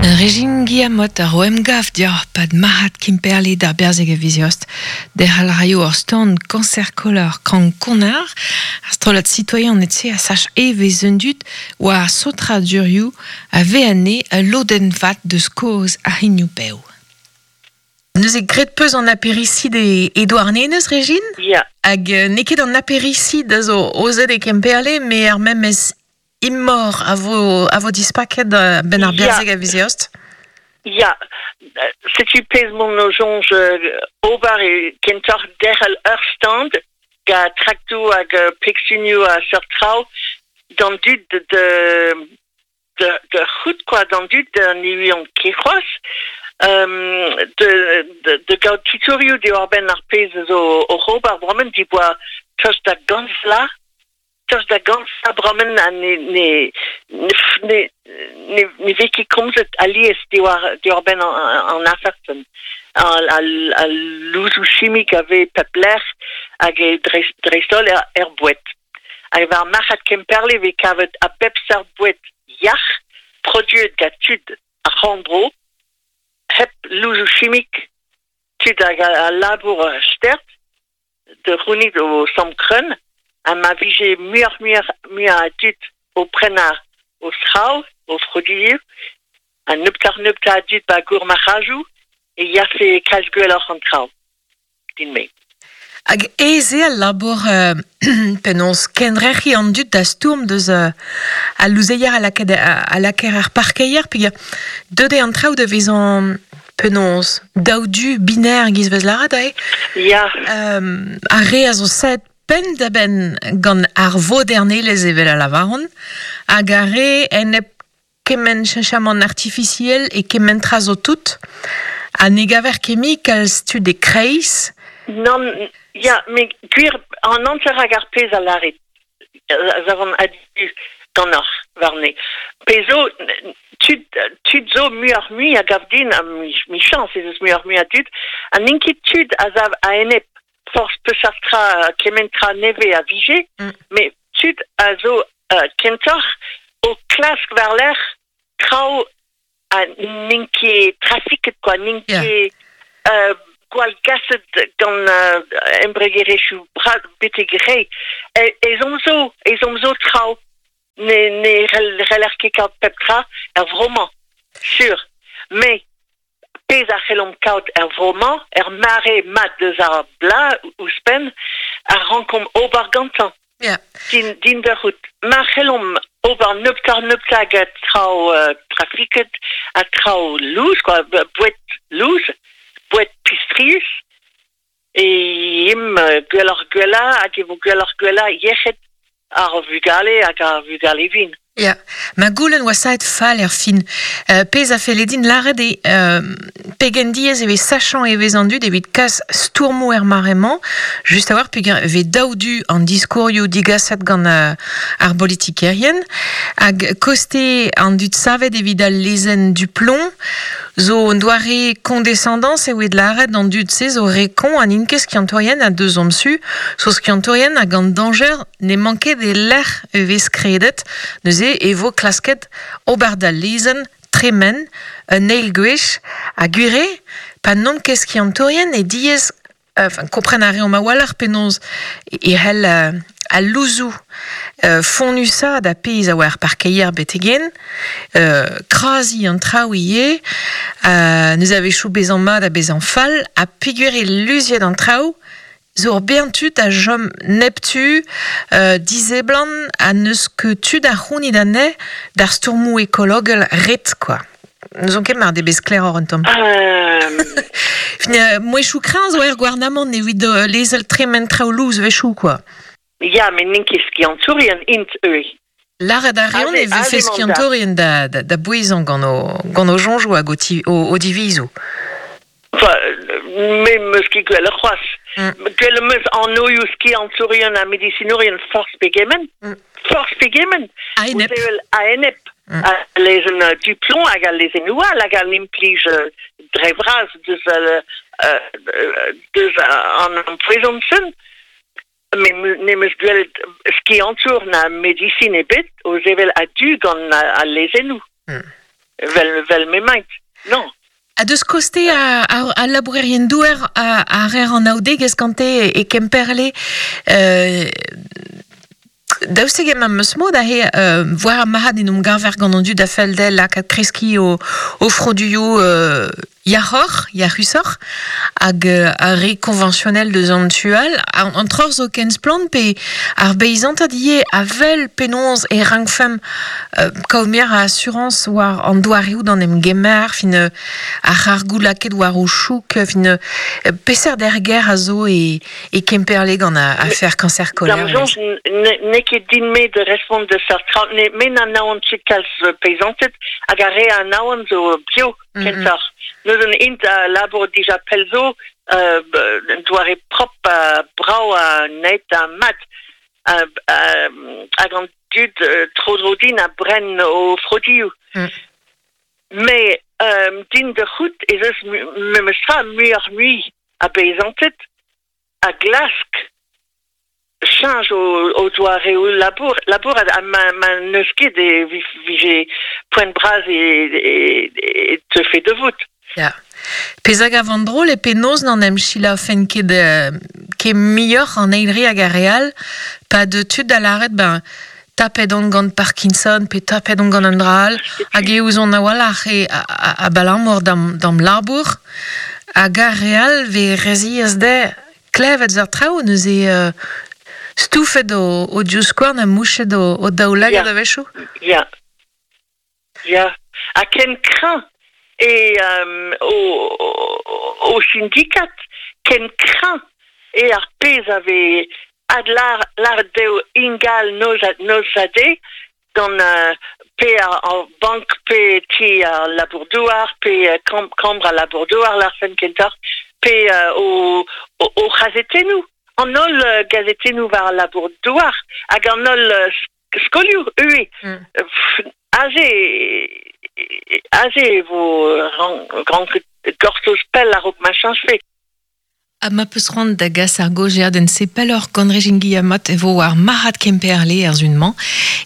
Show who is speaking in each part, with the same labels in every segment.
Speaker 1: Régine Guillamot ar o emgav dioc'h pad marc'had Kemperle d'ar berzeg a viz Eost. Derc'hel a raio ur stand Cancer Color Krank Konnar. Ar strollad sitoian etse a sach evezh un dud war saotradurioù a vez anezhe ul lodenn vat deus kozh ar c'hignoù-bev. Neuze graet peus an aperisid e, e Douarnenez, Régine?
Speaker 2: Ya.
Speaker 1: Hag n'eo ket an aperisid a zo ozet e Kemperle, met ar memes imor a vo, a vo dispaket benn ar berzeg a viz Eost?
Speaker 2: Ya, setu pezh m'on o soñj ober e kentoc'h derc'hel ur stand gant traktoù hag pegsunioù ha seurt traoù d'an dud de, de, de c'hoût quoi, d'an dud ne ouiont ket c'hoazh de, de, de gaout tutorioù diwar-benn ar pezh zo oc'h ober bremañ diboa tost da gant vloaz Tost da gant bremañ ha ne, ne, ne, ne, ne vez ket komzet alies diwar, diwar-benn an, an afer-sen. Al, al, al louzoù chimik a vez pep lec'h hag e dreist, dreist-holl er, er boued. Hag war marc'had Kemperle e vez kavet a bep seurt boued yac'h produet gant tud ar c'horn-bro, hep louzoù chimik, tud hag a, a labour stert, da c'hounit o samm kreunn ha ma vije muioc'h-muioc'h muiañ a dud o prenañ o zraoù, o froduioù, ha nebeutoc'h-nebeutañ a dud 'ba gourmarc'hajoù e yafe kalz gwelloc'h an traoù din-me.
Speaker 1: Hag aes eo al labour penaos kendrec'hiñ an dud da stourm deus al louzeier a lakaet a lakaer er parkeier peogwir deuet eo an traoù da vezañ Penaos Daou du binaire giz vez lâret aze
Speaker 2: Ya.
Speaker 1: Ar re a zo saet penn-da-benn gant ar vodernelezh evel a lavaront hag ar re enep kement cheñchamant artifisiel e kement tra zo tout ha ne gaver ket mui kalz tud e-kreiz.
Speaker 2: Nann, ya, met gwir an hanter hag ar pezh a lârit. a zavan a-du ganeoc'h warne. Pezh zo, tud, tud zo muioc'h-mui a gav din, ha michañs ez eus muioc'h-mui a dud, ha n'int ket tud a sav a-enep forzh peseurt tra, kement tra nevez a vije, met tud a zo kentoc'h o klask war-lerc'h traoù ha n'int ket trafiket quoi, n'int ket gwallgaset gant embregerezhioù bras betek re. Ezhomm zo, ezhomm zo traoù. Ne, ne c'heller ket kaout pep tra er vro-mañ, sur. Mais pezh a c'hellomp kaout er vro-mañ, er mare mat deus ar bloaz ouzhpenn, a rankomp ober gantañ. Din, din da c'hoût. Ma c'hellomp ober nebeutoc'h-nebeutañ gant traoù trafiket ha traoù lous, quoi, boued lous, boued pistrius, e imp gwelloc'h-gwellañ hag e vo gwelloc'h-gwellañ yec'hed ar vugale hag ar vugale vin.
Speaker 1: Ya, ma goulenn oa saet fall er fin. Pezh a felle din lâret eo pegen diaes e vez sachañ evezh an dud evit kas stourmoù er mare-mañ, just a-walc'h peogwir e vez daou du an diskourioù digaset gant ar bolitikerien hag koste an dud savet evit al lezenn Duplomb zo un doare condescendance evit lâret an dud-se zo re koñ ha n'int ket skiantourien ha deus omp su zo skiantourien hag an dañjer N'emañ ket e-lec'h e vez kredet, neuze e vo klasket ober d'al lezenn tremen un eil gwech ha gwir eo, pa n'omp ket skiantourien e diaes enfin kompren a reomp a-walc'h penaos e c'hell al louzoù fonnusaat ar pezh a oa er parkeier betek-henn, kraziñ an traoù ivez, neuze a-wechoù bezañ mat ha bezañ fall, ha peogwir eo luziet an traoù zo ur bern tud a chom neptu, diseblant ha n'eus ket tu da c'hounit anezhe d'ar stourmoù ekologel ret quoi. N'ouzon ket mar debez sklaeroc'h un tamm. Mouezhioù kreñv zo er gouarnamant evit lezel tremen traoù lous wechoù quoi.
Speaker 2: Ya, met n'int ket skiantourien int ivez.
Speaker 1: Lâret a reont e vefe skiantourien da, da, da bouezañ gant o, gant o soñjoù hag o, ti, o, o divizoù.
Speaker 2: Enfin, me 'meus ket gwelloc'h c'hoazh. Gwell 'm eus anvioù skiantourien ha medisinourien forzh pegement. Forzh pegement.
Speaker 1: A-enep.
Speaker 2: A-enep. A lezenn Duplomb hag al lezennoù all hag an implij dre vras deus, deus an ampoezon-sen. Me n'em eus gwelet skiantour na medisin ebet o sevel a-du gant al lezennoù. Vel, vel m'emaint. Non.
Speaker 1: Ha deus koste a labourerien douer a rer an aoudegezh gante e Kemperle, daoust hag emañ meus mod aze war ar marc'had en om gaver gant an dud a fell dezhe lakaat kreskiñ o froduioù yac'hoc'h, yac'husoc'h, hag ar re konvañsionel deus an tu all. An troc'h zo ken splann pe ar beizantad ivez a wel penaos e rankfemp kaout muioc'h a asurañs war an doareoù d'an em gemer, fin ar c'hargoù lakaet war o chouk, fin peseurt erger a zo e e Kemperle gant afer cancer colère.
Speaker 2: D'am soñj n'eo ket din-me da respont da seurt traoù. Me n'anavan ket kalz peizanted hag ar re a anavan zo bio kentoc'h. Neuze int a labour dija pell zo un doare prop ha brav ha net ha mat. Hag an dud tro-dro din a bren o frodioù. Mais din da c'hoût ez eus memestra muioc'h-mui a beizanted a glask cheñch o doareoù labour labourat ha ma n'eus ket e vije poent bras e teufe da vout.
Speaker 1: Ya. Pezh a gavan drol eo penaos n'en em selaoufen ket ket muioc'h an eil re hag ar re all pa deu tud da lâret ben tapet on gant Parkinson pe tapet on gant un dra all hag e ouzon a-walc'h eo abalamour d'am labour hag ar re all 'vez re ziaes dezhe klevet seurt traoù neuze stoufet o divskouarn ha mouchet o daoulagad a-wechoù.
Speaker 2: Ya. Ya. Ha ken kreñv eo o sindikad, ken kreñv eo ar pezh a vez adlâret dezho ingal noz ha deiz gant pe ar bank pe ti al labour-douar pe kambr al labour-douar lârfen kentoc'h pe o c'hazetennoù an holl gazetennoù war al labour-douar hag an holl skolioù ivez. Aze aze e vo ranket gortoz pell a-raok ma cheñchfe.
Speaker 1: Ha ma peus c'hoant da gas ar gaozeadenn-se pelloc'h gant Régine Guillamot e vo war marc'had Kemperle er sun-mañ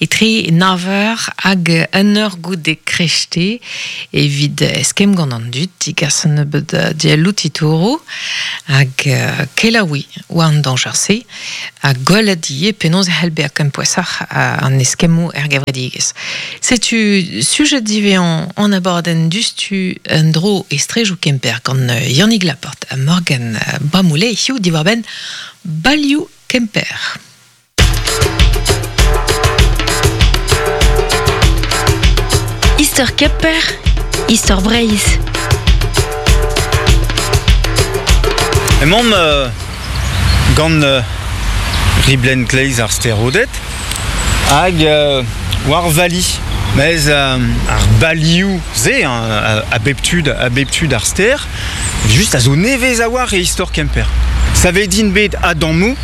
Speaker 1: etre nav eur hag un eur goude krechte evit eskemm gant an dud digas un nebeud dielloù titouroù hag kelaouiñ war an dañjer-se ha gwelet ivez penaos e c'hell bezañ kempouesoc'h an eskemmoù er gevredigezh. Setu sujet diwezhañ an abadenn diouzhtu en-dro e strejoù Kemper gant Yannig Laporte ha Morgan Bramoullé hiziv diwar-benn balioù Kemper.
Speaker 3: Istor Kemper, istor Breizh.
Speaker 4: Emaomp gant riblenn kleiz ar Stêr-Oded hag war vali. Mez ar balioù-se a bep tu a bep tu d'ar stêr, just a zo nevez a-walc'h e istor Kemper. Savet int bet a-dammoù,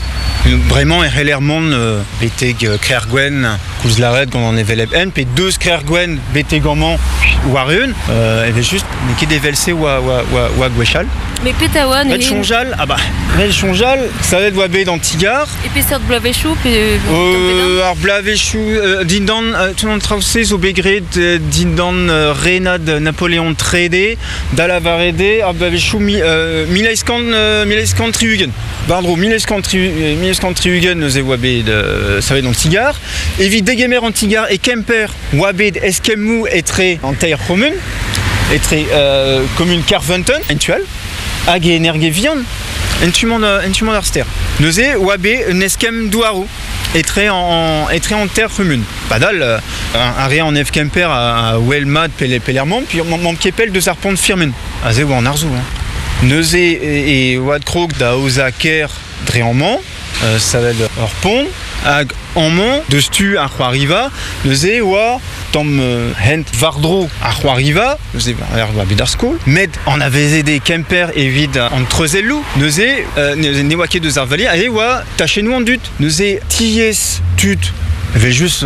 Speaker 4: bremañ e c'heller mont betek Krec'h-Gwenn, koulz lâret gant an hevelep hent, pe deus Krec'h-Gwenn betek amañ war-eeun, evel-just n'eo ket evel-se oa, oa, oa, oa gwechall.
Speaker 3: Mais petra oa
Speaker 4: neuze? Ret soñjal, ah bah, ret soñjal, savet oa bet an ti-gar.
Speaker 3: E peseurt bloavezhioù pe
Speaker 4: Ar bloavezhioù dindan tout an traoù-se zo bet graet dindan renad Napoleon III, da lavaret eo ar bloavezhioù 1860. War-dro 1860 neuze oa bet savet an ti-gar. Evit degemer an ti-gar e Kemper oa bet eskemmoù etre an teir c'homun, etre komun Kerfeunteun, en tu all, hag e Energe-Vihan, en tu-mañ en tu-mañ d'ar stêr. Neuze oa bet un eskemm douaroù etre an, etre an teir c'humun. Padal, ar re an Kemper a wel mat pelec'h puis mamm ket pell deus ar pont Firmin. Aze oa an arzoù. Hein. Neuze e oad krog da aozañ kêr dre amañ, savet ur pont, hag amañ, deus tu ar c'hoariva, neuze e oa tamm hent war-dro ar c'hoariva, neuze war bet ar skol, met anavezet eo Kemper evit an treuzelloù, neuze ne oa ket deus ar vali, aze e oa tachennoù an dud, neuze tiez tud evel-just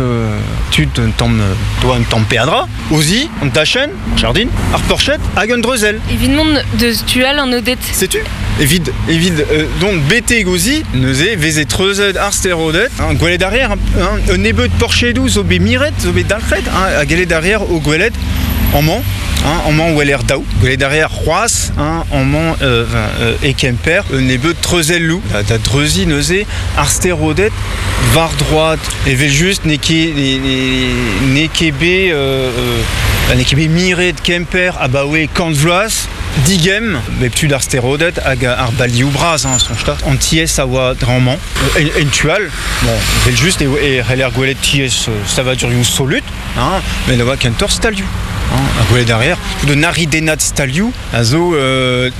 Speaker 4: tud un tamm doa un tamm peadra, o zi, an tachenn, jardin, ar porched hag un dreuzell.
Speaker 3: Evit mont deus tu all an Oded.
Speaker 4: Setu, evit, evit dont betek o zi, neuze veze treuzet ar stêr-Oded, hein, gwelet arrière, hein, un nebeud porchedoù zo bet miret, zo bet dalc'het, hein, ha gellet arrière o gwelet Amañ, hein, amañ weler daou. Gwelet a reer c'hoazh, hein, amañ e Kemper, un nebeud treuzelloù da dreuziñ neuze ar steroded war droad. Evel-just n'eo ket n'eo ket bet n'eo ket bet miret Kemper abaoe kant vloaz. Digemm bep tu d'ar steroded hag ar balioù bras, hein, soñj 'ta. An tiez a oa dre-amañ. En tu all, bon, evel-just eo e c'heller gwelet tiez savadurioù solut, hein, met a oa kentoc'h stalioù. Hein, ha gwelet a reer tout un aridennad stalioù a zo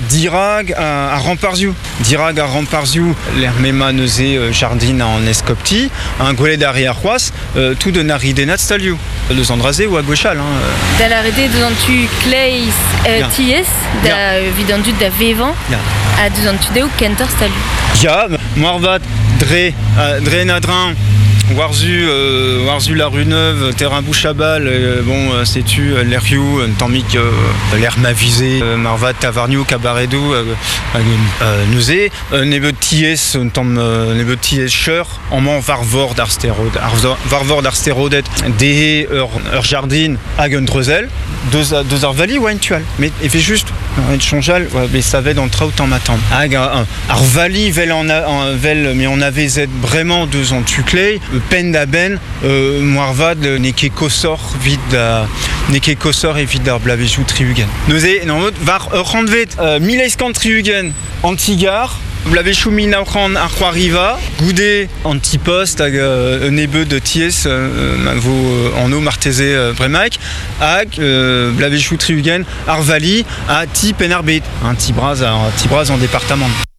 Speaker 4: dirak ar ramparzhioù. Dirak ar ramparzhioù, lec'h m'emañ neuze jardin an eskopti, hein, gwelet a reer c'hoazh tout un aridennad stalioù. Deus an dra-se oa gwechall. Hein.
Speaker 3: Da lâret eo deus an tu kleiz tiez da evit an dud da vevañ ha deus an tu dehou kentoc'h stalioù.
Speaker 4: Ya, moarvat dre, dre en adreñv war-zu war-zu la rue Neuve, terrain Bouchabal, bon, setu lec'hioù un tammig lec'h ma vize marvat tavarnioù, kabaredoù hag neuze un nebeud tiez, un tamm nebeud tiez cheur amañ war vord ar stêr war vord ar stêr-Oded dezhe ur jardin hag un dreuzell deus, deus ar vali oa en tu all met evel-just en soñjal oa bet savet an traoù tamm-ha-tamm hag ar vali vel an vel m'eo anavezet bremañ deus an tu kleiz penn-da-benn moarvat n'eo ket koshoc'h evit n'eo ket koshoc'h evit ar bloavezhioù 60. Neuze en war ur c'hantved 1860 An ti-gar, bloavezhioù 1900 ar c'hoariva, goude an ti-post hag un nebeud tiez ma vo anv marteze bremaik, hag bloavezhioù 60 ar vali ha ti Penn-ar-Bed, un ti bras, un ti bras en departamant.